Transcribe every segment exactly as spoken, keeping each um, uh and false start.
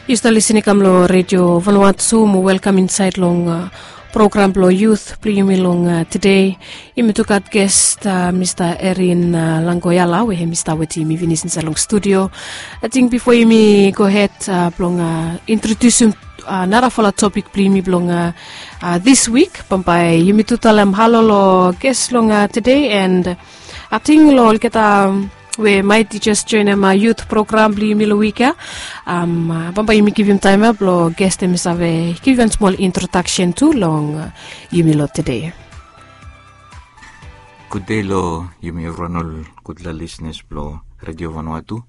Yu stap lisin i kam long Redio Vanuatu mo welkam insaed long program blong yut blong yumi long tede. Yumi tu gat gest, Mista Erin Langkoyala we hem i stap wetem yumi finis insaed long studio. Ating bifo yumi gohed blong introdiusim narafala topik blong yumi blong dis wik, bambae yumi tu talem halo long gest long tede, and ating long olgeta we maet i jes joenem yut program blong yumi long wik ya, bambae yumi givim taem ya blong gest hem i save givim wan smol introdaksen tu long yumi long tede. Gudde long yumi evriwan, ol gudfala lisnas blong Redio Vanuatu.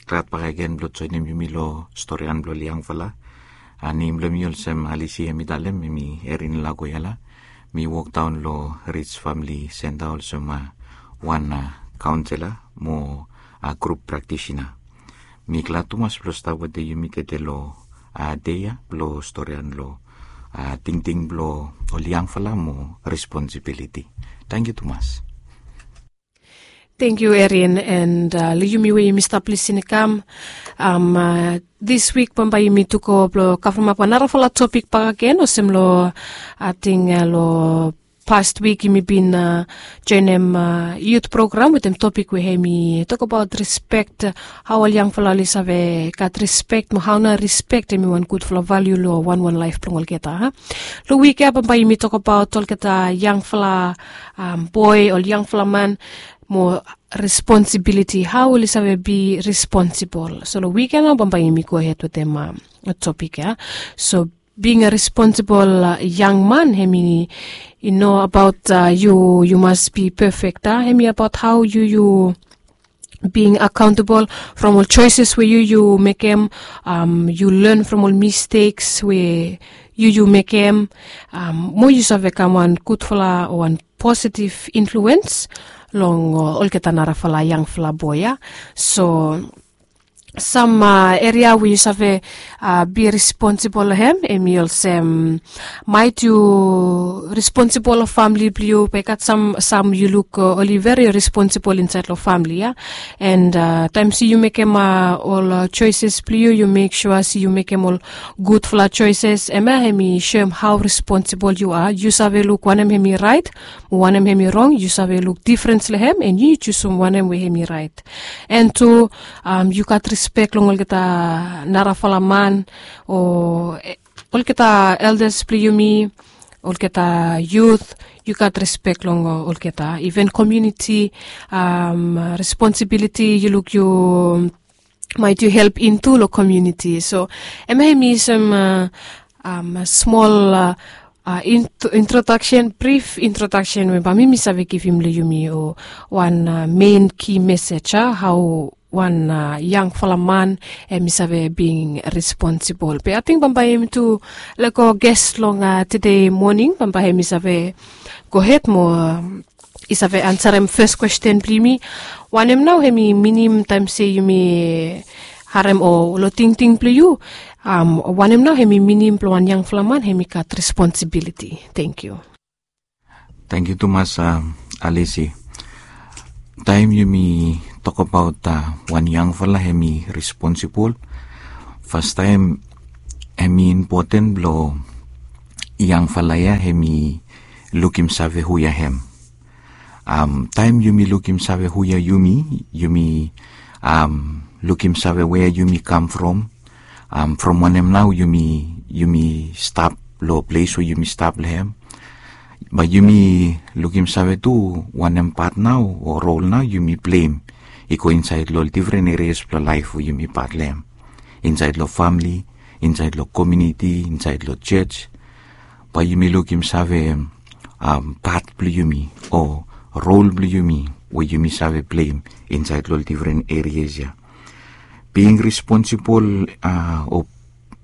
Glad bakegen blong joenem yumi long storian blong ol yangfala. Nem blong mi olsem Alisi hem i talem, hem i Erin Langkoyala. Mi wokdaon long Rij Famili Senta olsem wan kaonsela mo grup praktisina. Mi glad tumas blong stap wetem yumi tede long dei ya blong storian long tingting blong ol yangfala mo responsibiliti. Tangkiu tumas. Tangkiu Erin, and long yumi we yumi stap lisin i kam, dis wik bambae yumi tu go blong kavremap wan narafala topik bakegen olsem long, ating long past wik yumi bin joenem yut program wetem topik we hem i tokbaot rispek, hao ol yangfala oli save gat rispek mo hao nao rispek hem i wan gudfala valiu long wanwan laef blong olgeta. Long wik ya bambae yumi tokbaot olgeta yangfala boe, ol yangfala man, mo responsibiliti, hao oli save bi responsibol. So long wik ya nao bambae yumi gohed wetem topik ya. So being a responsible young man, hem i no abaot yu yu mas bi pefek, a hem i abaot hao yu yu being accountable from ol choices we yu yu mekem. Yu len from ol mistakes we yu yu mekem, mo yu save kam wan gudfala o wan positive influence long olgeta narafala yangfala boe ya. So sam eria we yu save bi responsibol long hem, hem i olsem, maet yu responsibol long famili blong yu, be i gat sam yu luk oli veri responsibol insaed long famili ya. And taem se yu mekem ol choices blong yu, yu mek sua se yu mekem ol gudfala choices, hemia hem i soem hao responsibol yu a. Yu save luk wanem hem i raet mo wanem hem i rong, yu save luk difrens long hem and yu jusum wanem we hem i raet. And tu yu gat rispek long olgeta narafala man o olgeta eldas blong yumi, olgeta yut, yu gat rispek long olgeta, iven komuniti responsibiliti yu luk yu maet yu help intu long komuniti. So hemia hem i sam smol introdaksen, brif introdaksen we bambae mi save givim long yumi o wan mein ki mesej ya, hao wan yangfala man hem i save being responsibol. Be ating bambae yumi tu lego gest long tede moning bambae hem i save gohed mo i save ansarem fes kwesten blong yumi. Wanem nao hem i minim taem se yumi harem o long tingting blong yu, wanem nao hem i minim blong wan yangfala man hem i gat responsibiliti? Tangkiu. Tangkiu tumas Alisi. Taem yumi tokbaot wan yangfala hem i responsibol, fastaem hem i impoten blong yangfala ya hem i lukim save hu ya hem. Taem yumi lukim save hu ya yumi, yumi lukim save wea yumi kam from, from wanem nao yumi stap long ples we yumi stap long hem. Bae yumi lukim save tu wanem pat nao o rol nao yumi pleim i go insaed long ol difren erias blong laef we yumi pat long hem, insaed long famili, insaed long komuniti, insaed long jos. Bae yumi lukim save pat blong yumi o rol blong yumi we yumi save pleim insaed long ol difren erias ya. Being responsibol o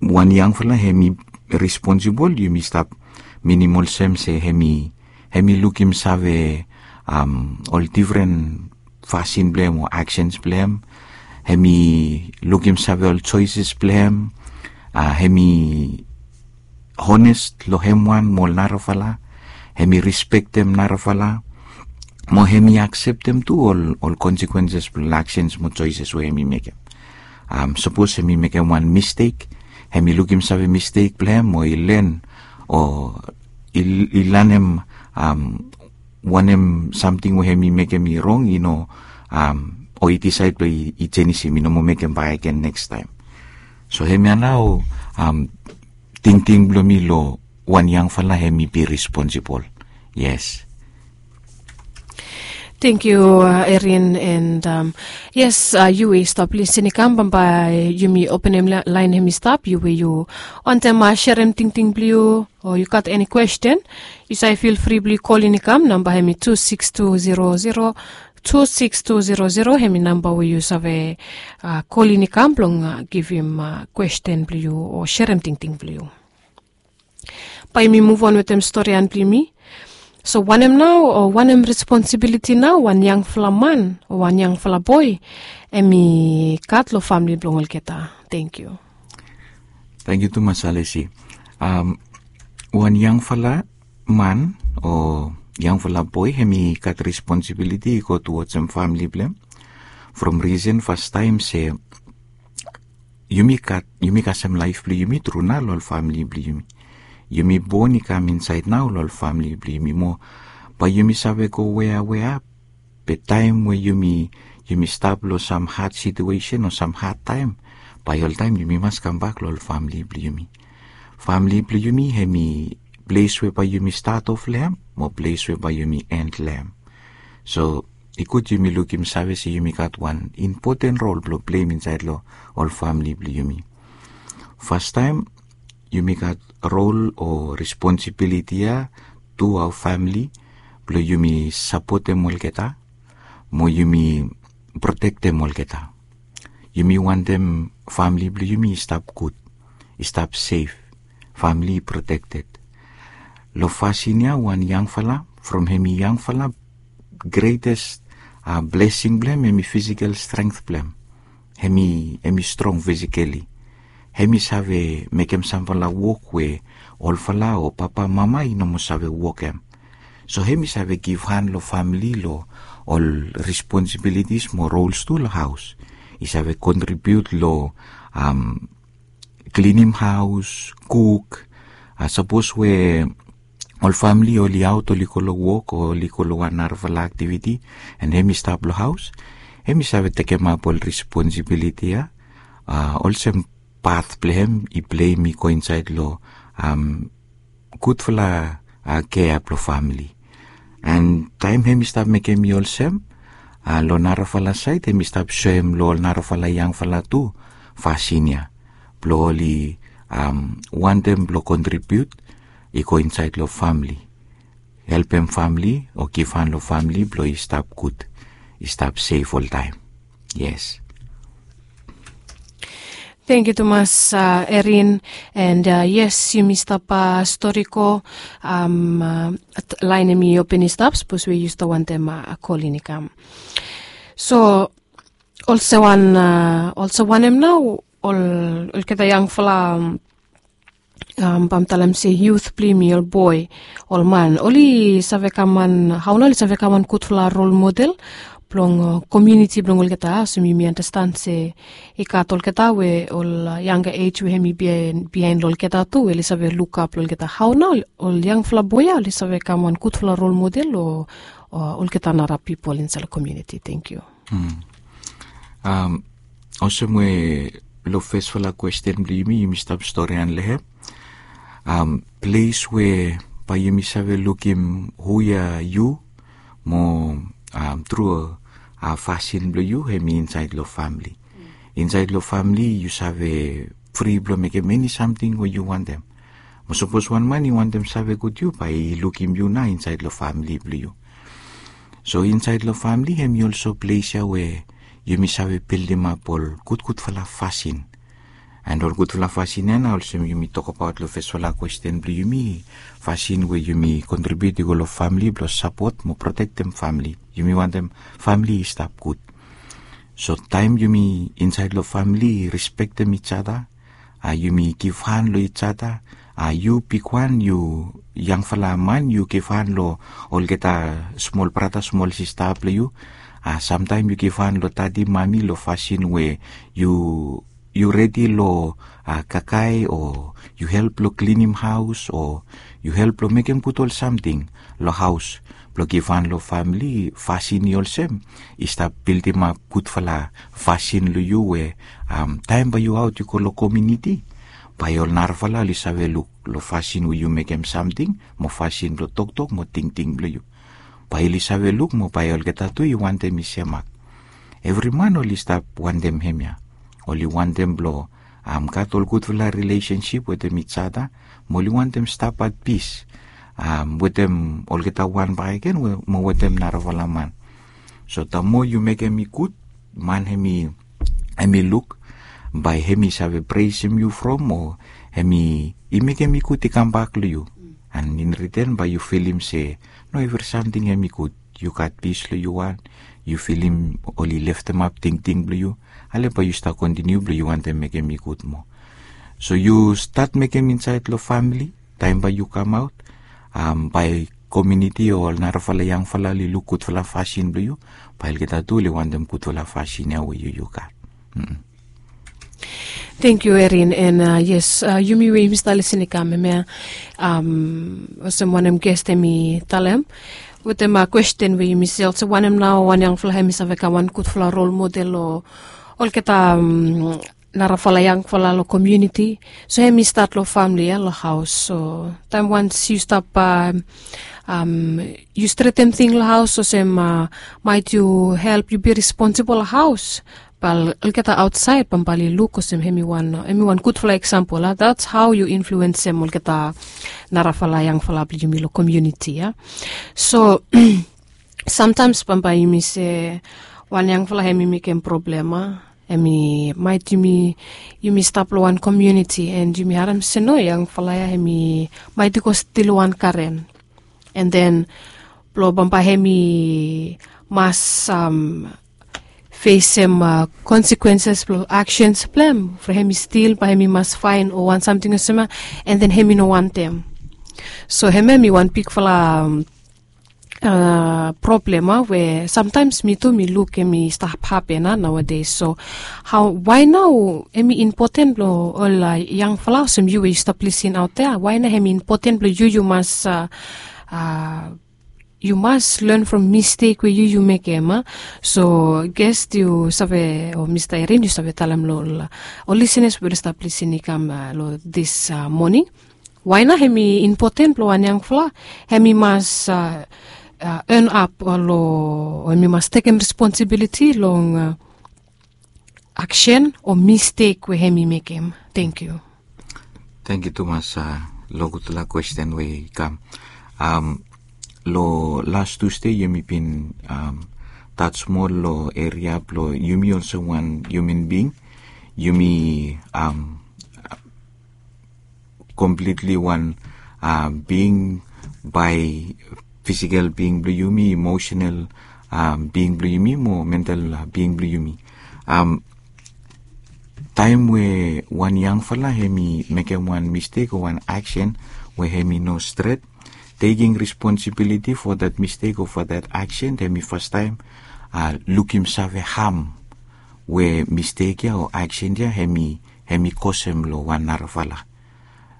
wan yangfala hem i responsibol, yumi stap minim olsem se hem i lukim save ol difren fasin blong hem o aksens blong hem. Hem i lukim save ol joeses blong hem. Hem i hones long hem wan mo ol narafala. Hem i rispektem narafala mo hem i akseptem tu ol konsekwenses blong ol aksens mo joeses we hem i mekem. Sapos hem i mekem wan mistek, hem i lukim save mistek blong hem o i len o i lanem wanem samting we hem i mekem i rong i no, o i disaed blong i jenisim i no moa mekem bakegen nekstaem. So hemia nao tingting blong mi long wan yangfala hem i bi responsibol. Yes. Thank you, Erin, and yes, yu we yu stap lisin i kam bambae yumi openem laen hem i stap, yu we yu wantem serem tingting blong yu o yu gat eni kwesten, yu save fil fri blong yu kolin i kam. Namba hem i tu siks tu zero zero tu siks tu zero zero, hem i namba we yu save kolin i kam blong givim kwesten blong yu o serem tingting blong yu. Bae yumi muv on wetem storian blong yumi. So wanem nao o wanem responsibiliti nao wan yangfala man o wan yangfala boe hem i gat long famili blong olgeta? Tangkiu. Tangkiu tumas Alesi. Wan yangfala man o yangfala boe hem i gat responsibiliti i go tuwajim famili blong hem. From risen fastaem se yumi gat yumi kasem laef blong yumi tru nao long ol famili blong yumi. Yumi bon i kam insaed nao long ol famili blong yumi moa. Bae yumi save go wea wea be taem we yumi yumi stap long sam had situesen o sam had taem, bae oltaem yumi mas kambak long ol famili blong yumi. Famili blong yumi hem i ples we bae yumi stat of long hem mo ples we bae yumi en long hem. So i gud yumi lukim save se yumi gat wan impoten rol blong pleim insaed long ol famili blong yumi. Fastaem yumi gat rol o responsibiliti ya tu aoa famili blong yumi sapotem olgeta mo yumi protektem olgeta. Yumi wantem famili blong yumi i stap gud, i stap sef, famili i protekted. Long fasin ya wan yangfala from hem i yangfala, gretes blesing blong hem hem i fisikel strength blong hem. Hem i hem i strong fisikeli. Hem i save mekem samfala wok we olfala o papa mama i no moa save wokem. So hem i save givhan long famili long ol responsibilitis mo rols tu long haos. I save kontribiut long klinim haos, kuk. Sapos we ol famili oli aot oli go long wok o oli go long wan narafala aktiviti, en hem i stap long haos, hem i save tekemap ol responsibiliti ya olsem pat blong hem i pleim i go insaed long gudfala kea blong famili. En taem hem i stap mekem i olsem, long narafala saed hem i stap soem long ol narafala yangfala tu fasin ya blong oli wantem blong kontribiut i go insaed long famili, helpem famili o givhan long famili blong i stap gud, i stap sef oltaem. Yes. Tangkiu tumas, Erin. And yes, yumi stap stori go. Laen hem i open i stap sapos we yu stap wantem kolin i kam. So olsem wan olsem wanem nao ol olgeta yangfala, bae mi talem se yut blong yumi, ol boe, ol man, oli save kam wan, hao nao oli save kam wan gudfala rol model blong komuniti blong olgeta? Olsem yumi andastan se i gat olgeta we ol yanga ej we hem i biaen long olgeta tu we oli save lukap long olgeta. Hao nao ol yangfala boe ya oli save kam wan gudfala rol model long olgeta nara pipol insaed long komuniti? Tangkiu. Olsem we long fesfala kwesten blong yumi yumi stap storian long hem, ples we bae yumi save lukim hu ya yu mo tru fasin blong yu hem i insaed long famili. Insaed long famili yu save fri blong mekem eni samting we yu wantem. Mo sapos wan man i wantem save gud yu bae i lukim yu nao insaed long famili blong yu. So insaed long famili hem i olsem ples ya we yumi save bildimap ol gudgudfala fasin. En ol gudfala fasin ya nao olsem yumi tokbaot long fesfala kwesten blong yumi, fasin we yumi kontribiut i go long famili blong sapot mo protektem famili. Yumi wantem famili i stap gud. So taem yumi insaed long famili i respektem ijada, a yumi givhan long ijada, a yu bigwan, yu yangfala man, yu givhan long olgeta smol brata smol sista blong yu, Samtaem yu givhan long dadi mami long fasin we yu yu redi long kakae o yu help long klinim haos o yu help long mekem gud ol samting long haos blong givhan long famili. Fasin i olsem i stap bildimap gudfala fasin long yu we taem bae yu aot yu go long komiuniti, bae ol narafala oli save luk long fasin we yu mekem samting mo fasin blong toktok mo tingting blong yu. Bae oli save luk mo bae olgeta tu i wantem i semak. Evri man oli stap wantem hemia. Oli wantem blong gat ol gudfala rilesensip wetem ijada mo oli wantem stap at pis wetem olgeta wan bakegen mo wetem narafala man. So tamo yu mekem i gud, man hem i luk bae hem i save presem yu from o hem i mekem i gud i kambak long yu. An in riten bae yu filim se no evri samting hem i gud. Yu gat pis long yu wan, yu filim oli leftemap tingting blong yu, ale bae yu stap kontiniu blong yu wantem mekem i gud moa. So yu stat mekem insaed long famili taem bae yu kamaot, bae komiuniti o ol narafala yangfala oli luk gudfala fasin blong yu, bae olgeta tu oli wantem gudfala fasin ya we yu yu gat. Tengkiu Erin. An yes, yumi we yumi stap lisin i kam hemia, olsem wanem ges hem i talem wetem kwesten we yumi sel se wanem nao wan yangfala hem i save kam wan gudfala rol model long olgeta narafala yangfala long komiuniti. So hem i stat long famili ya long haos. So taem wans yu stap yu stretem ting long haos olsem maet yu help yu bi responsibol long haos, bae olgeta aotsaed bambae oli luk olsem hem i wan gudfala eksampol a. That's how yu influensem olgeta narafala yangfala blong yumi long komiuniti ya. So samtaems bambae yumi se wan yangfala hem i mekem problem a, hem i maet yumi stap long wan komiuniti an yumi harem se no, yangfala ya hem i maet i go stil wan karen. An den blong bambae hem i mas fesem konsekwenses blong aksens blong hem from hem i stil bae hem i mas faen o wan samting olsem ya. An den hem i no wantem. So hemia hem i wan bigfala problem a we samtaems mi tu mi luk hem i stap hapen a naoades. So hao wae nao hem i impoten blong ol yangfala olsem yu we yu stap lisin aot ya, wae nao hem i impoten blong yu yu mas yu mas len from mistek we yu yu mekem a? So ges yu save o mista Erin yu save talem long ol lisenas we oli stap lisin i kam long dis moning. Wae nao hem i impoten blong wan yangfala hem i mas en ap long o hem i mas tekem responsibiliti long aksen o mistek we hem i mekem? Tengkiu. Tengkiu tumas long gudfala kwesten we i kam. Long las Tusde yumi bin taj moa long eria blong yumi olsem wan hiuman bing. Yumi komplitli wan bing, bae fisikel bing blong yumi, emosenal bing blong yumi mo mental bing blong yumi. Taem we wan yangfala hem i mekem wan mistek o wan aksen we hem i no stret, tekem responsibiliti fo dat mistek o fo dat aksen, hem i fastaem lukim save ham we mistek ya o aksen ya hem i kosem long wan narafala.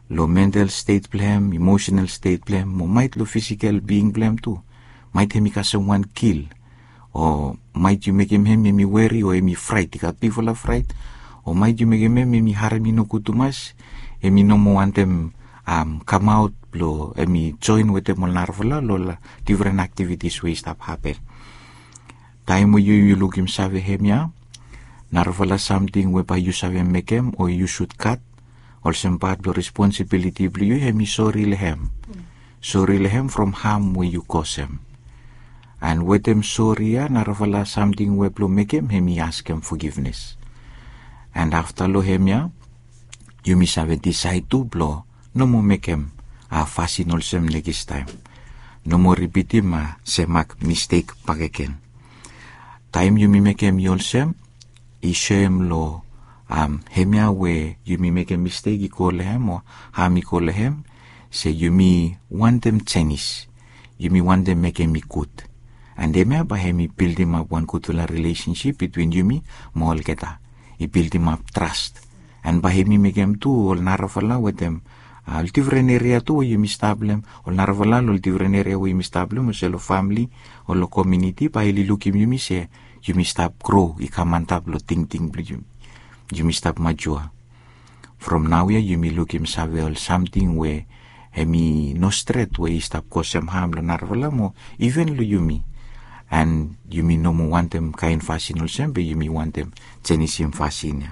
Long mental stet blong hem, emosenal stet blong hem, mo maet long fisikel bing blong hem tu. Maet hem i kasem wan gil, o maet yu mekem hem hem i weri o hem i fraet, i gat bigfala fraet, o maet yu mekem hem hem i harem i nogud tumas, hem i no moa wantem kamaot blong hem i joen wetem ol narafala long ol difren aktivitis we i stap hapen. Taem we yu yu lukim save hemia, narafala samting we bae yu save mekem o yu sud gat olsem pat blong responsibiliti blong yu, hem i sori long hem. Sori long hem from ham we yu kosem. An wetem sori ya narafala samting we blong mekem hem i askem fogivnes. An afta long hemia yumi save disaed tu blong no moa mekem fasin olsem nekis taem. No moa ripitim semak mistek bakegen. Taem yumi mekem i olsem, i soem long hemia we yumi mekem mistek i go long hem o ham i go long hem, se yumi wantem jenis, yumi wantem mekem i gud. And hemia bae hemi bildimap wan gudfala rilesensip bitwin yumi mo olgeta. I bildimap tras. And bae hemi mekem tu ol narafala wetem ol difren eria tu we yumi stap long hem, ol narafala long ol difren eria we yumi stap long hem, olsem long famili o long komuniti, bae oli lukim yumi se yumi stap gro i kam antap long tingting blong yumi. Yumi stap majua. From naoia yumi lukim save ol samting we hemi no stret we i stap kosem ham long narafala mo iven long yumi. And yumi no moa wantem kaen fasin olsem be yumi wantem jenisim fasin ya.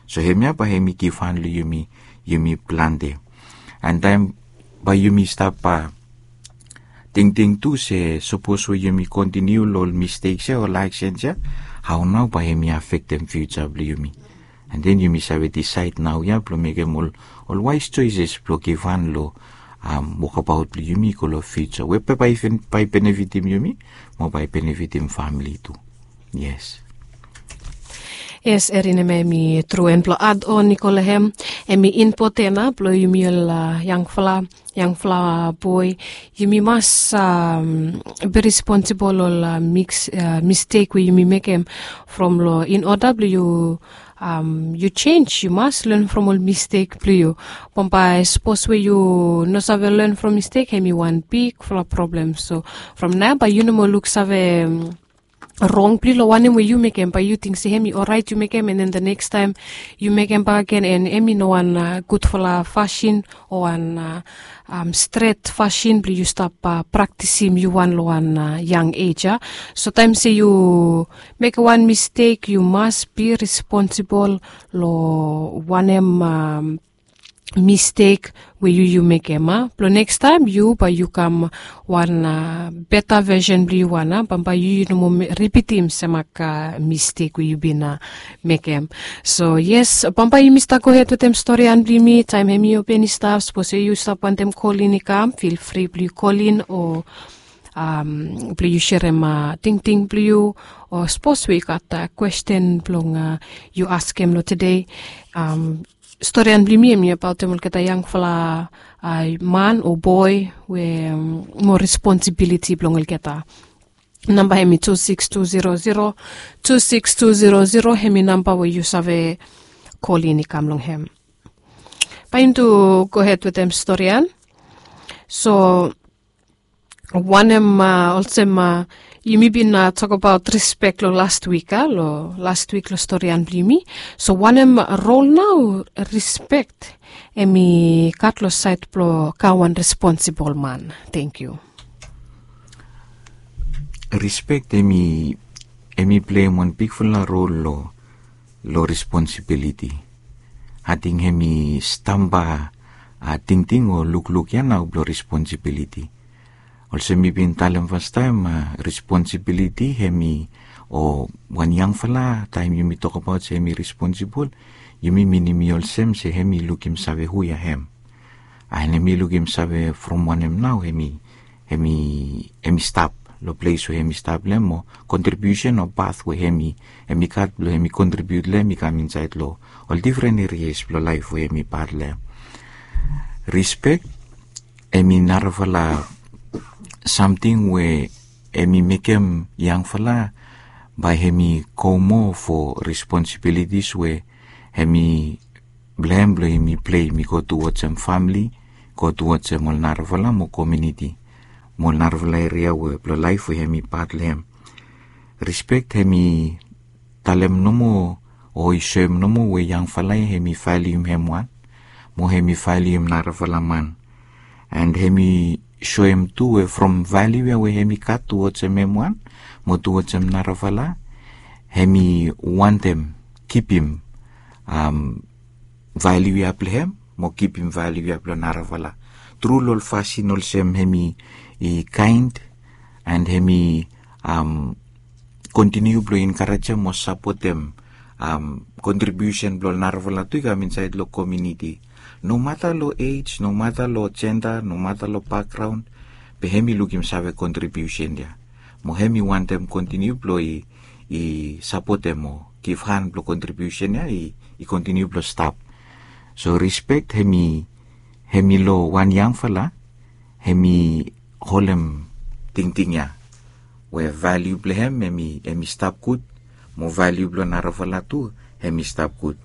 So hemia bae hemi givhan long yumi, yumi plante. And taem bae yumi stap tingting tu se sapos we yumi kontiniu long ol misteks ya o ol aksens ya, hao nao bae hemi afektem fiuja blong yumi. And then yumi save disaed naoia blong mekem ol, ol waes joeses blong givhan long wokabaot blong yumi i go long fiuja we bae, bae benefitim yumi mo bae benefitim famili tu. Yes. Yes, Erin, hemia hemi tru. And blong add on i go long hem, hemi impoten blong yumi ol yangfala, yangfala boe, yumi mas be responsibol ol miks, mistek we yumi mekem. From long in oda blong yu yu jenis, yu mas len from ol mistek blong yu. Bambae sapos we yu no save len from mistek, hemi wan bigfala problem. So from naoia bae yu no moa luksave rong blong yu long wanem we yu mekem, bae yu ting se hemi oraet yu mekem, and then the next taem yu mekem bakegen, and hemi no wan gudfala fasin o wan stret fasin blong yu stap praktisim yu wan long wan yang ej ya. So taem se yu mekem wan mistek, yu mas be responsibol long wanem mistek we yu, yu mekem, a blong nekstaem yu bae yu kam wan beta vesen blong yu wan, a bambae yu, yu no moa ripitim semak mistek we yu bin mekem. So yes, bambae yumi stap gohed wetem storian blong yumi. Taem hemi open i stap, sapos yu stap wantem kolin i kam, fil fri blong yu kolin o blong yu serem tingting blong yu, o sapos we i gat kwesten blong yu askem long tede. Storian blong yumi hemi abaotem olgeta yangfala man o boe we moa responsibiliti blong olgeta. Namba hemi tu sikis tu zero zero, tu sikis tu zero zero, hemi namba we yu save kolin i kam long hem. Bae yumi tu gohed wetem storian. So wanem, olsem yumi bin tokbaot rispek long last wik, a long last wik long storian blong yumi. So wanem rol nao rispek hemi gat long saed blong kam wan responsibol man? Tangkiu. Rispek hemi, hemi pleim wan bigfala rol long, long responsibiliti. Ating hemi stamba tingting o lukluk ya nao blong responsibiliti. Olsem mi bin talem fastaem, responsibiliti hemi, o wan yangfala, taem yumi tokbaot se hemi responsibol, yumi minim i olsem se hemi lukim save hu ya hem. And hemi lukim save from wanem nao hemi, hemi, hemi stap long ples we hemi stap long hem, o kontribiusen o pat we hemi, hemi gat blong hemi kontribiut long hem i kam insaed long ol difren erias blong laef we hemi pat long hem. Rispek hemi narafala samting we hemi mekem yangfala bae hemi go moa fo responsibilitis we hemi blong hem blong hemi pleim i go tuwajem famili, go tuwajem ol narafala mo komuniti mo ol narafala eria we blong laef we hemi pat long hem. Rispek hemi talem nomo o i soem nomo we yangfala ya hemi valium hem wan mo hemi valium narafala man. And hemi soem tu we from valiu ya we hemi gat tuwajem hem wan mo tuwajem narafala, hemi wantem kipim valiu ya blong hem mo kipim valiu ya blong narafala tru long ol fasin olsem hemi kaen and hemi kontiniu blong enkarejem o sapotem kontribiusen blong ol narafala tu i kam insaed long komuniti. Nomata long ej, nomata long jenda, nomata long bakgraon, be hemi lukim save kontribiusen ya mo hemi wantem kontiniu blong i, i sapotem o givhan blong kontribiusen ya i, i kontiniu blong stap. So rispek hemi, hemi long wan yangfala hemi holem tingting ya. we valiu blong hem hem i stap gud, mo valiu blong narafala tu hem i stap gud.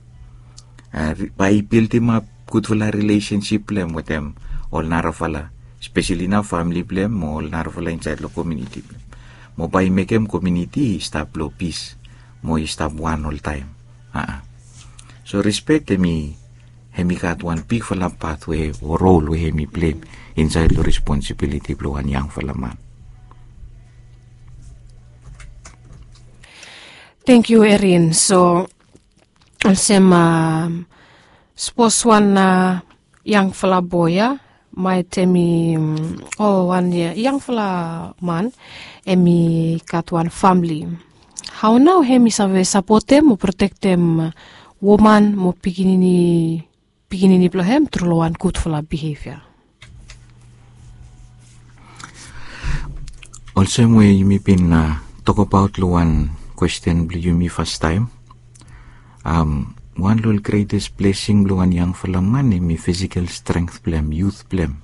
Bae i bildimap gudfala rilesensip blong hem wetem ol narafala, speseli nao famili blong hem mo ol narafala insaed long komiuniti blong hem, mo bae i mekem komiuniti i stap long pis mo i stap wan oltaem. So rispek hem i hem i gat wan bigfala pat we o rol we hem i pleim insaed long responsibiliti blong wan yangfala man. Tangkiu Erin. So olsem, sapos wan yangfala boe ya, maet hem i, o wan yangfala man, hem i gat wan famili, hao nao hem i save sapotem o protektem woman mo pikinini pikinini blong hem tru long wan gudfala bihevia? Olsem we yumi bin tokbaot long wan kwesten blong yumi fastaem, wan long ol gretes blesing blong wan yangfala man hem i fisikel strength blong hem, yut blong hem.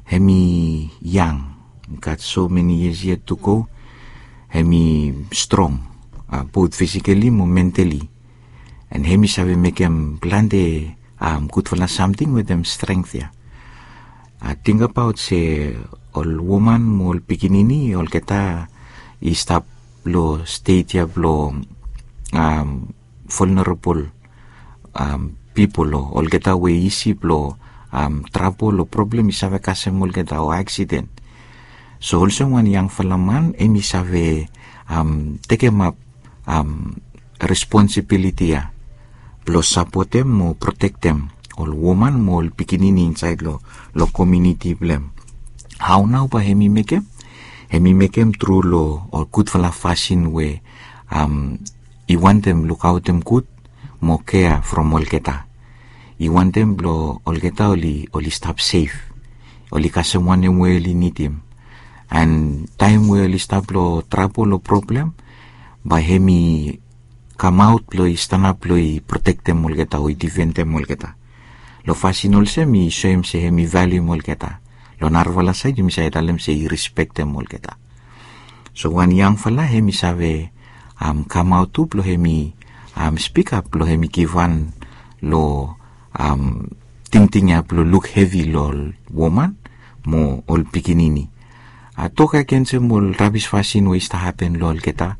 Hem i yang, gat so meni yias yet tu go. Hem i strong, bot fisikali mo mentali. An hem i save mekem plante gudfala samting wetem strength ya. Tingbaot se ol woman mo ol pikinini olgeta i stap long stet ya blong vulnerable pipol, o olgeta we isi blong trabol o problem i save kasem olgeta o aksiden. So olsem wan yangfala man hem i save tekemap responsibiliti ya blong sapotem mo protektem ol woman mo ol pikinini insaed long komiuniti blong hem. Hao nao bae hem i mekem? Hem i mekem tru long ol gudfala fasin we i wantem lukaotem gud mo kea from olgeta. I wantem blong olgeta oli stap sef, oli kasem wanem we oli nidim. An taem we oli stap long trabol o problem, bae hem i kamaot blong i stanap blong i protektem olgeta o i difendem olgeta. Long fasin olsem i soem se hem i valium olgeta. Long narafala saed yumi save talem se i rispektem olgeta. So wan yangfala hem i save kamaot tu blong hem i spikap blong hem i givhan long tingting ya blong luk hevi long ol woman mo ol pikinini. Tok agensem ol rabis fasin we i stap hapen long olgeta.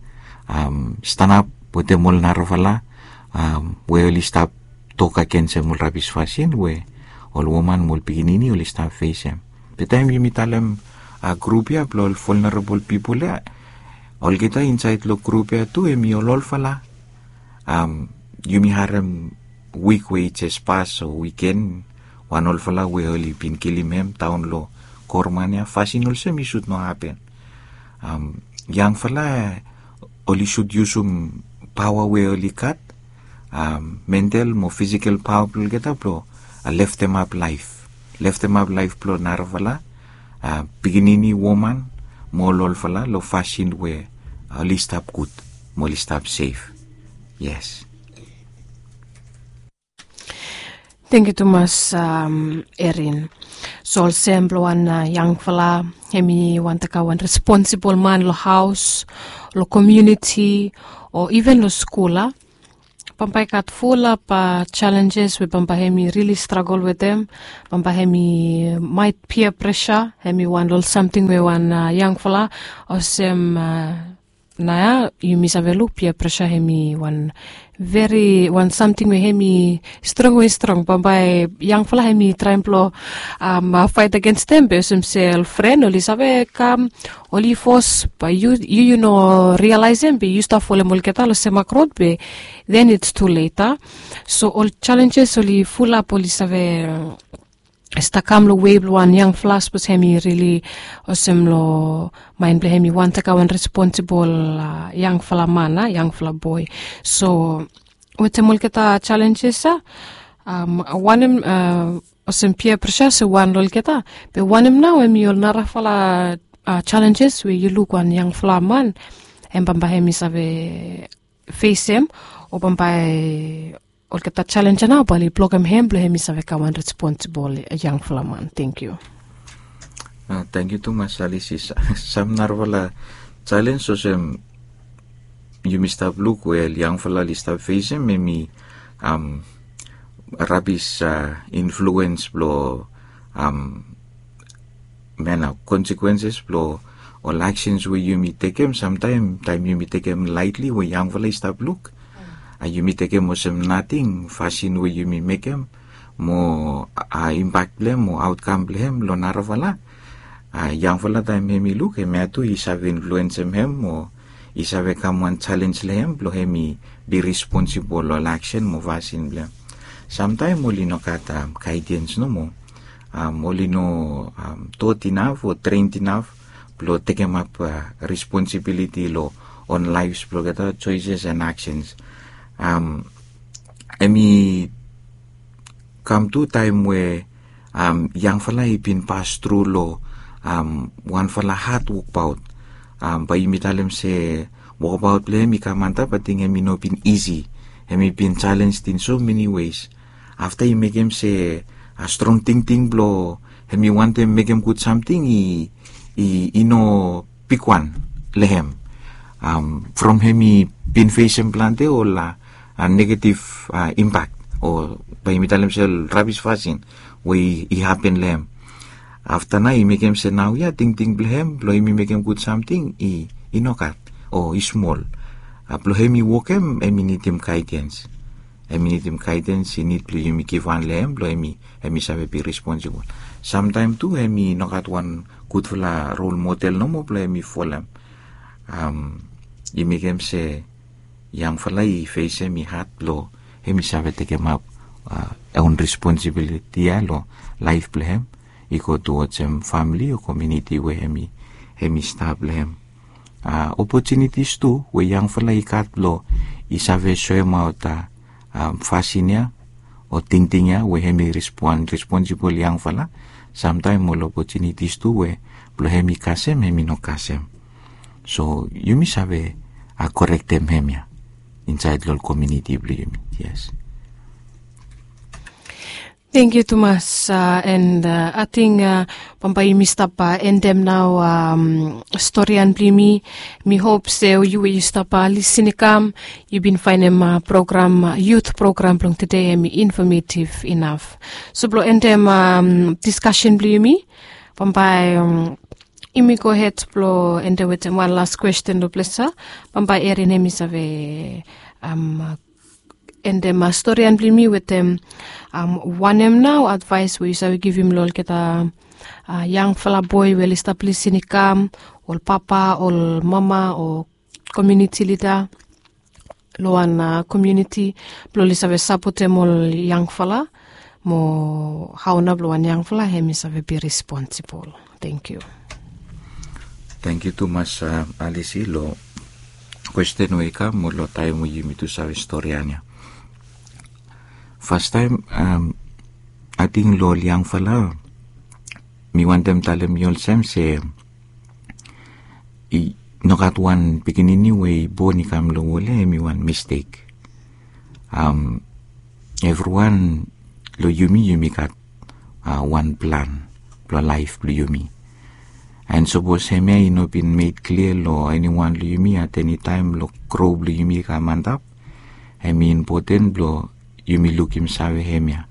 Stanap wetem ol narafala we oli stap tok agensem ol rabis fasin we ol woman mo ol pikinini oli stap fesem. Be taem yumi talem grup ya blong ol vulnerable pipol ya, olgeta insaed long grup ya tu hem i ol olfala. Yumi harem wik we i jes pas o wiken, wan olfala we oli bin kilim hem daon long Korman ya. Fasin olsem i sud no hapen. Yangfala oli sud yusum paoa we oli gat, mental mo fisikel paoa blong olgeta blong leftemap laef, leftemap laef blong narafala pikinini, woman mo ol olfala long fasin we oli stap gud mo oli stap sef. Yes. Tangkiu tumas, Erin. So olsem blong wan yangfala hem i wantem kam wan responsibol man long haos, long komiuniti, o iven long skul a, bambae i gat fulap jalenjes we bambae hem i rili stragol wetem. Bambae hem i maet pia presa, hem i wan long ol samting we wan yangfala olsem, nao ya yumi save luk pia presa hem i wan veri wan samting we hem i strong we i strong. Bambae yangfala hem i traem blong faet agensem, be olsem se ol fren oli save kam, oli fos, bae yu yu no rialaesem be yu stap folem olgeta long semak rod, be then it's too late a. So ol jalenjes oli fulap, oli save stap kam long wei blong wan yangfala sapos hem i rili olsem long maen blong hem i wantem kam wan responsibol yangfala man a, yangfala boe. So wetem olgeta jalenjes ya, wanem, olsem pia presa se wan long olgeta, be wanem nao hem i ol narafala jalenjes we yu luk wan yangfala man hem bambae hem i save fesem, o bambae olgeta jalenj ya nao bae oli blokem hem blong hem i save kam wan responsibol yangfala man. Tangkiu. Tangkiu tumas Alice. Sam narafala Challenge olsem yumi stap luk we ol yangfala oli stap fesem, hemi rabis influens blong mena, consequences blong ol actions we yumi tekem. Samtaem taem yumi tekem lightly we yangfala i stap luk, yumi tekem olsem nating fasin we yumi mekem, mo impact blong hem o outcome blong hem long narafala. Yangfala taem hemi luk, hemia tu i save influensem hem o i save kam wan challenge long hem blong hemi be responsible long ol action mo fasin blong hem. Samtaem oli no gat guidance nomo, oli no taught enough o trained enough blong tekemap responsibility long own lives blong olgeta, choices and actions. Hemi kam tu taem we yangfala i bin pas tru long wanfala had wokbaot. Bae yumi talem se wokbaot blong hem i kam antap, ating hemi no bin isi. Hemi bin challenge in so many ways. Afta i mekem se strong tingting blong hemi wantem mekem gud samting i no bigwan long hem. From hemi bin fesem plante ol negative impact o bae yumi talem se ol rabis fasin we i hapen long hem. Afta nao i mekem se naoia tingting blong hem blong hemi mekem gud samting i nogat o i smol. Blong hemi wokem hemi nidim guidance. Hemi nidim guidance, i nid blong yumi givhan long hem blong hemi save be responsible. Samtaem tu hemi nogat wan gudfala role model nomo blong hemi folem. I mekem se yangfala i fesem i had blong hemi save tekemap own responsibility ya long laef blong hem i go towards hem famili o komuniti we hemi stap long hem. Opportunities tu we yangfala i gat blong i save soemaot fasin ya o tingting ya we hemi respon- responsible yangfala. Samtaem ol opportunities tu we blong hemi kasem hemi no kasem. So yumi save korektem hemia insaed long ol komuniti blong yumi. Yes. Tangkiu tumas, and ating bambae yumi stap endem nao storian blong yumi. Mi hop se yu we yu stap lisin i kam, yu bin faenem program, youth program blong tede hemi informative inaf. So blong endem diskasen blong yumi, bambae yumi gohed blong endem wetem wan las kwesten long ples ya. Bambae Erin hemi save endem storian blong yumi wetem wanem nao advaes we yu save givim long olgeta yangfala boe we oli stap lisin i kam, ol papa, ol mama o komuniti lida long wan komuniti blong oli save sapotem ol yangfala, mo hao nao blong wan yangfala hemi save be responsible. Tangkiu. Tangkiu tumas Alisi long kwesten we i kam mo long taem we yumi tu save storian ya. Fastaem ating long ol yangfala mi wantem talem yu olsem se i nogat wan pikinini we i bon i kam long wol ya hemi wan mistek. Evriwan long yumi yumi gat wan plan blong laef blong yumi. And sapos hemia i no bin made klia long eniwan long yumi at eni taem long gro blong yumi i kam antap, hemi impoten blong yumi lukim save hemia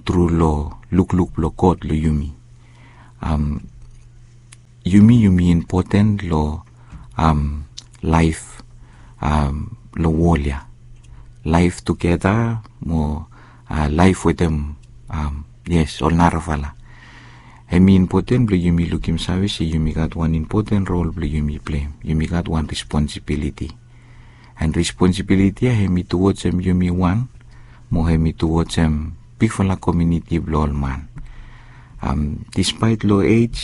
tru long lukluk blong God long yumi. Yumi yumi impoten long laef long wol ya, laef tugeta mo laef wetem, yes, ol narafala. Hemi impoten blong yumi lukim save se yumi gat wan impoten rol blong yumi pleim. Yumi gat wan responsibiliti. And responsibiliti ya hemi tuwojem yumi wan mo hemi tuwojem bigfala komuniti blong ol man. Dispaet long ej,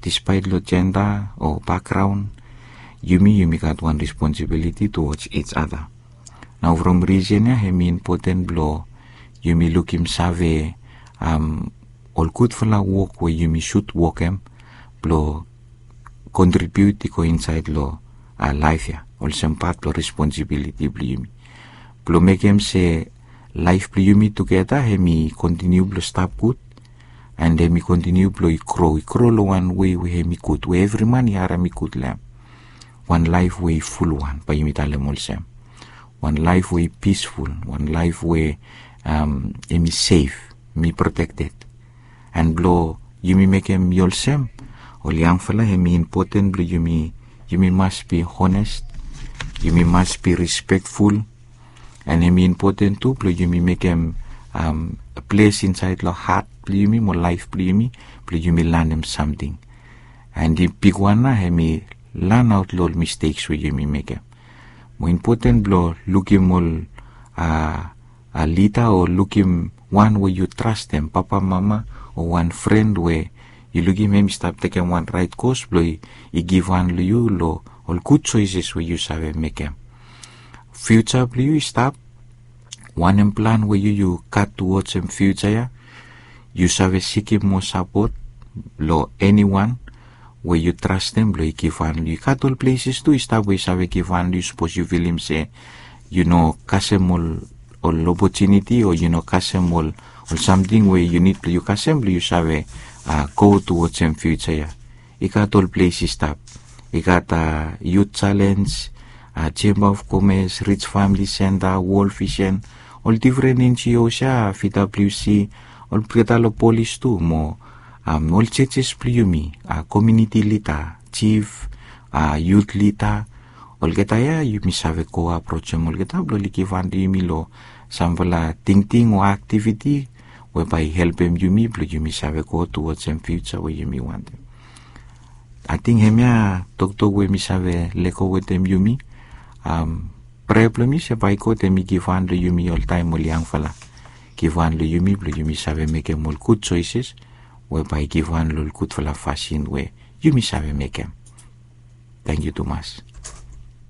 dispaet long jenda o bakgraon, yumi yumi gat wan responsibiliti tuwoj ij ada. Nao from risen ya hemi impoten blong yumi lukim save ol gudfala wok we yumi sud wokem blong kontribiut i go insaed long laef ya olsem pat blong responsibiliti blong yumi. Blong mekem se laef blong yumi tugeta hemi kontiniu blong stap gud, and hemi kontiniu blong i gro i gro long wan wei we hemi gud we evri man i harem i gud long hem. wan laef we i fulwan, bae yumi talem olsem. Wan laef we i pisful, wan laef we, um, hemi sef, hemi protekted. An blong yumi mekem i olsem, ol yangfala, hemi impoten blong yumi, yumi mas bi honest, yumi mas bi respekful, an hemi impoten tu blong yumi mekem, um, ples insaed long hat blong yumi mo laef blong yumi, blong yumi lanem samting. An di bigwan nao, hemi lanaot long ol misteks we yumi mekem. Mo impoten blong lukim ol, a, a lida o lukim wan we yu trastem, papa, mama, o wan fren we yu lukim hem i stap tekem wan raet kos blong i, i givhan long yu long ol gud soeses we yu save mekem. Fiuja blong yu i stap, wanem plan we yu, yu gat towards hem fiuja ya, yu save sikim moa sapot long eniwan we yu trastem blong i givhan long yu. I gat ol pleses tu i stap we i save givhan long yu, sapos yu filim se yu no kasem ol, ol opotuniti, o yu no kasem ol, ol samting we yu nid blong yu kasem blong yu save, a, go towards hem fiuja ya. I gat ol ples i stap. I gat, a, Youth Challenge, a, Chamber of Commerce, Rich Family Center, World Vision, ol difren N G Os ya, V W C, olgeta long polis tu mo, um, ol churches blong yumi, a, community leader, chief, a, youth leader, olgeta ya yumi save go aprojem olgeta blong oli givhan long yumi long samfala tingting o aktiviti we bae i helpem yumi blong yumi save go towards hem fiuja we yumi wantem. Ating hemia toktok we mi save lego wetem yumi. Um, prea blong mi se bae God hemi givhan long yumi oltaem ol yangfala. Givhan long yumi blong yumi save mekem ol gud soeses we bae givhan long ol gudfala fasin we yumi save mekem. Tangkiu tumas.